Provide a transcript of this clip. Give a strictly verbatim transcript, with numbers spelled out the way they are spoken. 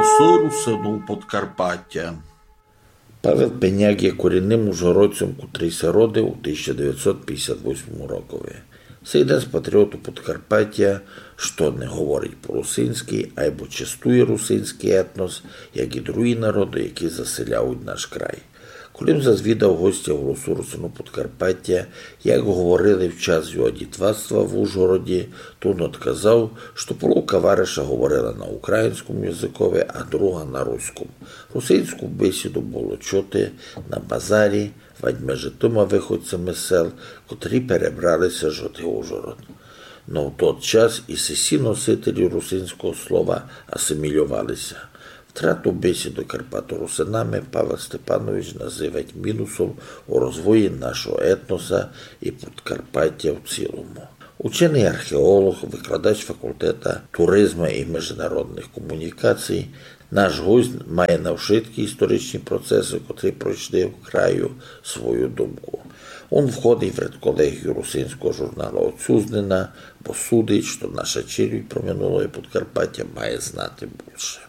Голосы русинов Подкарпатя. Павел Пеняк є корінным ужгородцьом, котрый ся родив у тисяча девятьсот пятьдесят восьмому рокови. Сей днесь патріоту Подкарпатя, што не говорить по-русинськы, айбо честує русинськый етнос, як і другі народы, які заселяють наш край. Коли м зазвідав гостя Голосу русинов Подкарпатя, як говорили в час його дітвацтва в Ужгороді, то н одказав, што половка вариша говорила на українському языкови, а друга на руському. Русинську бесіду было чути на базарі, вадь межи тыма выходцями з сел, котрі перебрали ся жити в Ужгород. Но в тот час і сесі носителі русинського слова асимільовали ся. Втрату бесіды карпаторусинами Павел Степанович называть мінусом у розвої нашого етноса і Подкарпатя в цілому. Ученый археолог, викладач факултета туризма і международных комунікацій, наш гость має на вшыткі історичні процесы, котрі пройшли в краю, свою думку. Он входить в редколегію русинського журналу «Отцюзнина», бо судить, што наша челядь про минулоє Подкарпатя має знати бульше.